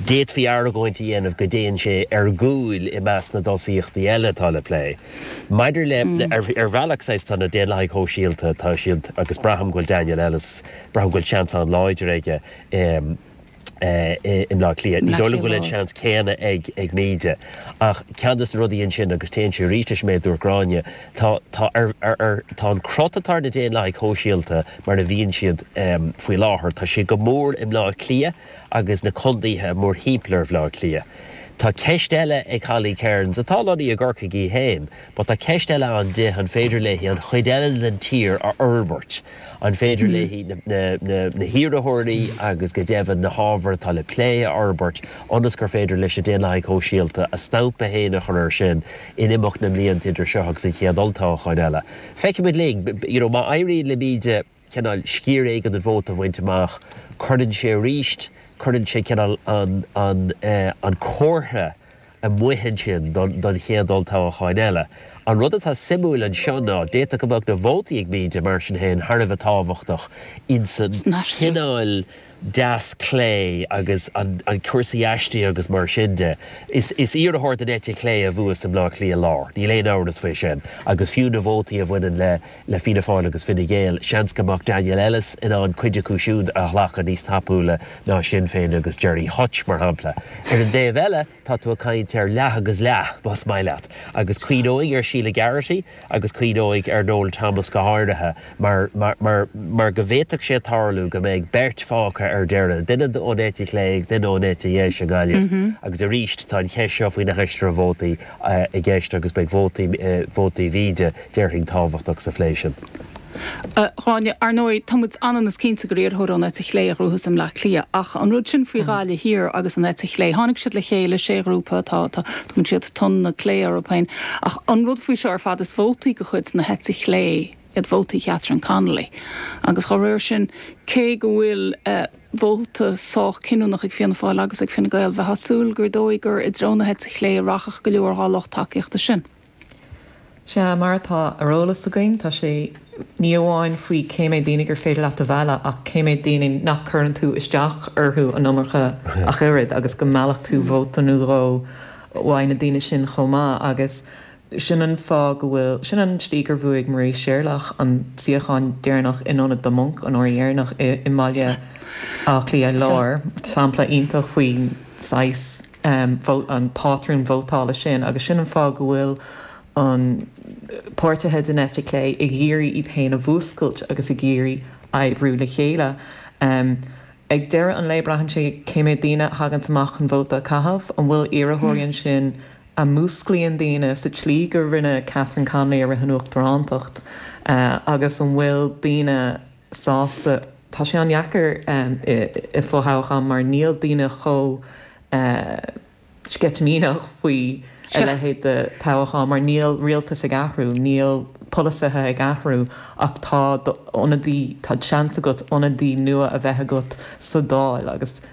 D'fhéadfaí argóint a dhéanamh go dtéann sé ar gcúl i measc na dtosaíochtaí eile atá le plé. Maidir le, ar bhealach, saghas, tá na Daonlathaigh Shóisialta, tá siad, agus braithim go bhfuil Daniel Ellis, braithim go bhfuil seans an-láidir aige i mBleá Cliath. Ní dóigh liom go bhfuil an seans céanna ag Míde. Ach ceann de na rudaí ansin, agus téann sé arís leis an méid a dúirt Gráinne, tá, tá ar, ar, ar, tá an crot atá ar na Daonlathaigh Shóisialta mar a bhíonn siad faoi láthair, tá sé go mór i mBleá Cliath agus na contaetha mórthimpeall ar Bhleá Cliath. Tá ceist eile ag Holly Cairns, atá lonnaithe i gCorcaigh í féin, but tá ceist eile ann di, an féidir léi an chuid eile den tír a fhorbairt? An féidir léi na hiarrthóirí agus go deimhin na hábhair atá le plé a fhorbairt ionas gur féidir leis na Daonlathaigh Shóisialta a stampa féin a chur air sin in imeacht na mblianta idir seo agus an chéad olltoghchán eile? Feicfimid linn. You know, má éiríonn le Míde cineál sciar éigin den vóta a bhaint amach, cuireann sé arís, cuireann sé cineál an, an, an comhartha amuigh ansin don, don chéad olltoghchán eile. An rud atá suimiúil anseo ná, d'fhéadfadh go mbeadh na vótaí ag Míde, mar sin féin, thar a bheith tábhachtach insan chineál deas clé agus an cúrsaí aistrithe agus mar sin de. Is iarrthóir den eite chlé a bhuas i mBleá Cliath Lár, níl aon amhras faoi sin, agus fiú na vótaí a bhaineann le le Fianna Fáil agus Fine Gael, seans go mbeadh Daniel Ellis in ann cuid acu siúd a ghlacadh níos tapúla ná Sinn Féin agus Gerry Hutch, mar shampla. Ar an dtaobh eile, tá tú ag caint ar leath agus leath, más maith leat, agus cuimhneoidh ar Sheila Geraghty agus cuimhneoidh ar Noel Thomas go háirithe, mar, mar, mar, mar go bhféadfadh sé tarlú go mbeidh beirt fágtha ar deireadh, duine ón eite chlé agus duine ón eite dheis i nGaillimh. Agus arís, tá an cheist seo faoi na haistrithe vótaí i gceist agus beidh vótaí, vótaí Mhíde, déarfainn, tábhachtach sa phlé sin. A Ghráinne, ar ndóigh, tá muid ionann is cinnte gur iarrthóir ón eite chlé a ghnóthós i mBleá Cliath, ach an rud sin faoi Ghaillimh Thiar agus an eite chlé, tháinig siad le chéile, sé ghrúpa atá, tá, tugann siad Tonn na Clé orthu féin, ach an rud faoi seo ar fad, is vótaí de chuid na heite chlé iad vótaí Catherine Connolly agus dá réir sin, cé go bhfuil vóta sách cinniúnach ag Fianna Fáil agus ag Fine Gael, bheifeá ag súil gur dóigh gur i dtreo na heite chlé a rachadh go leor dhá lucht tacaíochta sin. Sea, mar atá ar eolas againn, tá sé ní amháin faoi cé méad daoine gur féidir leat a mhealladh ach cé méad daoine nach cuireann tú isteach orthu an iomarca ach oiread agus go meallfadh tú vóta nó dhó uaidh na daoine sin chomh maith agus sin an fáth go bhfuil, sin an tslí gur bhuaigh Marie Sherlock an suíochán deireanach in ionad The Monk an uair dheireanach i mBaile Átha Cliath Láir, sampla iontach faoin saghas. an pátrún vótála sin agus sin an fáth go bhfuil an páirtithe den eite chlé ag iarraidh iad féin a mhúscailt agus ag iarraidh oibriú le chéile. Ag deireadh an lae braitheann sé cé méad daoine a thaganns amach chun vóta a chaitheamh, an bhfuil iarrthóirí ansin a mhúsclaíonn daoine sa tslí go rinne Catherine Connolly i rith an uachtarántacht agus an bhfuil daoine sásta. Tá sé an-dheacair i fothoghchán mar níl daoine chomh sceitimíneach faoi a leithéid de thoghchán mar níl rialtas ag athrú, níl polasaithe ag athrú ach tá d'ionadaí, tá seans agat ionadaí nua a bheith agat sa Dáil agus.